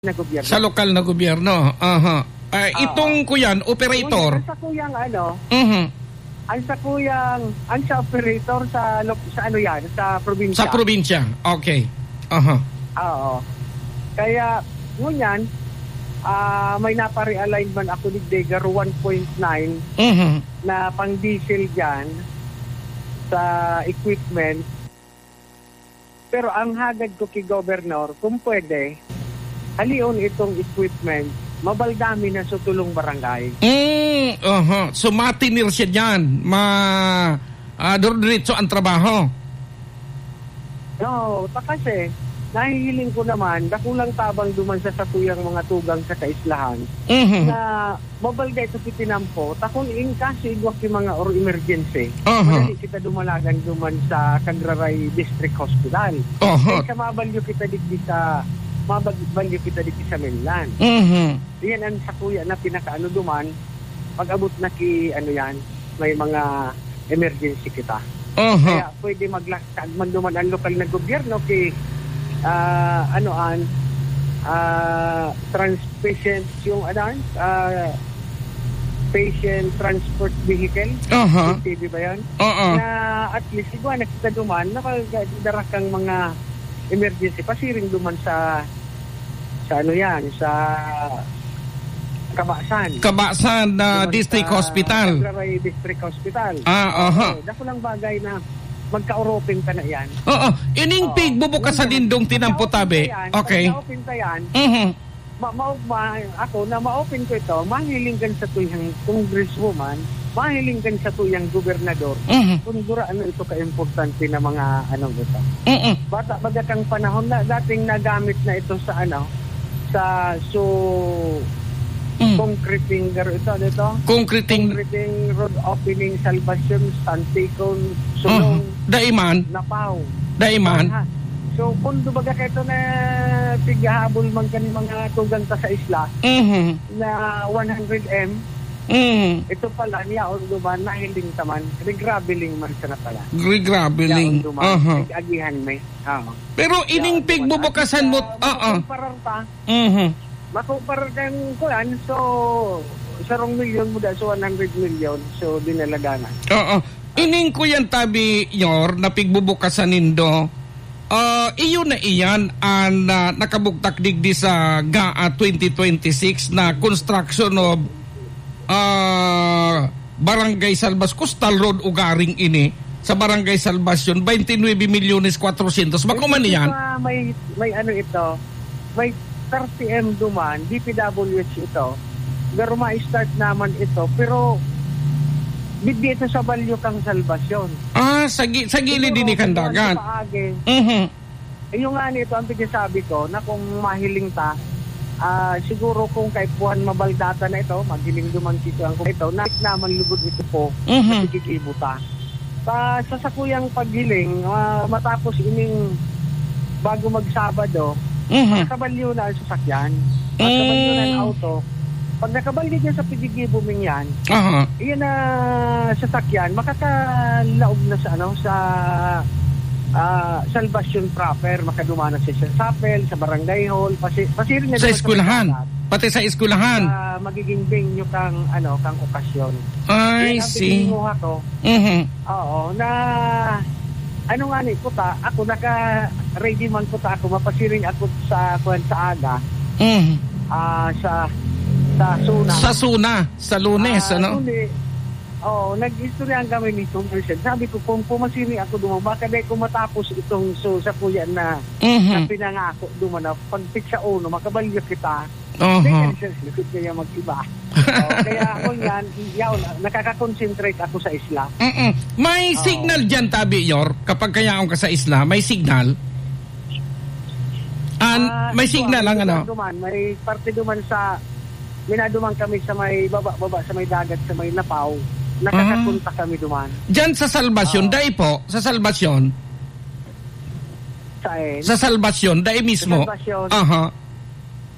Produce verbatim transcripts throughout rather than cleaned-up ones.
na gobyerno. Sa lokal na gobyerno. Aha. Ah, Oo. itong kuyan, operator. Ngunyan, ang sakuyang ano, Mhm. ang sakuyang, ang sa operator sa lo-, sa ano yan, sa probinsya. Sa probinsya. Okay. Aha. Oo. Kaya, ngunyan, ah, may napa-realign man ako digdi, garo one point nine Mhm. na pang-diesel dyan sa equipment. Pero ang hagad ko ki Governor, kung pwede, halion itong equipment, mabaldami na sa tulong barangay. Mm, aha. So, matinir siya dyan. Ma-, ah, dire-diretso ang trabaho. No, ta kasi, nahihiling ko naman, dakulang tabang duman sa satuyang mga tugang sa kaislahan Mhm. na mabalda ito si tinampo, ta kun in kaso igwa ki mga or emergency, Aha. madali kita dumalagan duman sa Cagraray District Hospital. Aha. Kaysa mabalyo kita digdi sa, mabalyo kita digdi sa mainland. Mhm. Yan ang sakuya na pinakaano duman, pag-abot na ki, ano yan, may mga emergency kita. Aha. Kaya pwede magla-, Kag man duman ang lokal na gobyerno ki, ah, ano an, ah, trans-, patient, yung ano an, ah, patient transport vehicle. Aha. P T V ba yan? Oo. Na at least, igwa na kita duman, nakadara kang mga emergency, pasiring duman sa, sa ano yan, sa Kabasan. Kabasan na Duman District sa Hospital. Cagraray District Hospital. Ah, aha. Oo, dakulang bagay na magka-oropin ka na yan. Oo. Ining Oo. pigbubukasan Ngayon, nindong tinampo tabi. Yan, Okay. pag na-open ka yan, Mhm. ma-, maugma ako na ma-open ko ito, mahiling kan sa tuyang congresswoman, mahiling kan sa tuyang gobernador, Mhm. kung dura ano ito ka-importante na mga anong ito. Mhm. Bata baga kang panahon na dating nagamit na ito sa ano, sa so Mm. concreting garo ito, ano ito? Concreting. Concreting road opening, Salvacion, Stanticon, Sulong, Mhm. Daiman. Napaw. Daiman. Aha. So, kung dubaga ka ito na tighahabol man kan mga tugang ta sa isla Mhm. na one hundred M, Mhm. ito pala, niyaon duman, nahiling ta man, regrabeling man sana pala. Regrabeling. Niyaon duman, Aha. tig-agihan may. Oo. Pero ining Niyaon duman. pigbubukasan At mo, saka, oo. makumparar ta, Mhm. Makumpara kan kuan, so, sarong milyon muda sa one hundred milyon, so, dinaladanan. Oo. Ining kuyan tabi, Yor, na pigbubukasan nindo, ah, iyo na iyan an, ah, nakabugtak digdi sa gaa twenty twenty-six na construction of ah, Barangay Salvas-, Coastal Road ugaring ini sa Barangay Salvacion, twenty-nuebe milyones cuatrocientos. Bako man Ito iyan? pa, may, may ano ito, may thirty M duman, D P W H ito. Pero ma-start naman ito, pero digdi ito sa Balyo kang Salvacion. Ah, sa gi-, sa gilid Siguro, ini kan medyo dagat. paagi. Mhm. Iyo nga nito ang pigsasabi ko na kung mahiling ta, ah, siguro kung kaipuhan mabaldata na ito, maghiling duman si Kuan ko ito, na naman lugod ito po, Mhm. napigigibo ta. Sa, sa sakuyang paghiling, ah, matapos ining bago magsabado, Mhm. nakabalyo na ang sasakyan. At kabalyo na ang Mm. auto. Pag nakabalyo dyan sa pigigibo ming yan, Aha. Iyan na sasakyan, makakalaog na sa, ano, sa, ah, Salvacion proper, makaduman na siya sa chapel, sa barangay hall, pasi-, pasiring na Sa naman sa eskwelahan. Pati sa eskwelahan. Ah, magiging venue kang, ano, kang okasyon. I Yan ang see. Pinimuha ko. Mhm. Oo, na, ano nga ni, puta, ako naka-ready man puta ako, mapasiring ako sa, kuwan, sa aga, Mhm. ah, sa, sa Suna. Sa Suna, sa Lunes, Ah, ano? Kundi, Oo, nag-istoryahan kami ni Congressman. Sabi ko, "Kung pumasini ako duman, baka dai ko matapos itong so, sa kuya na, Mhm. na pinangako duman na pag pitsa uno, makabalyo kita." Aha. Dai ka siya likod kaya mag-iba. Oh, kaya ako yan, yaw, nakaka-concentrate ako sa isla. Mm-mm. May Oo. signal dyan, Tabi Yor, kapag kayaon ka sa isla, may signal? An, Ah, may ito, signal ang may ano? Duman, may parte duman sa, may naduman kami sa may baba-baba, sa may dagat, sa may Napaw. Nakakapunta Ah. kami duman. Diyan sa Salvacion, Oo. dai po, sa Salvacion? Saan? Sa Salvacion, dai Sa mismo? Salvacion. Aha.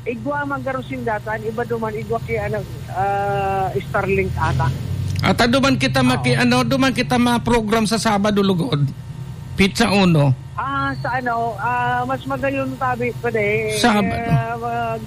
Igwa man garo sindatan, iba duman, igwa kay ano, ah, Starlink ata. At, ah, duman kita maki-, Oo. ano, duman kita ma-program sa Sabado lugod. Pitsa uno. Ah, sa ano, ah, mas magayon tabi pa di. Sab- Eh, mag-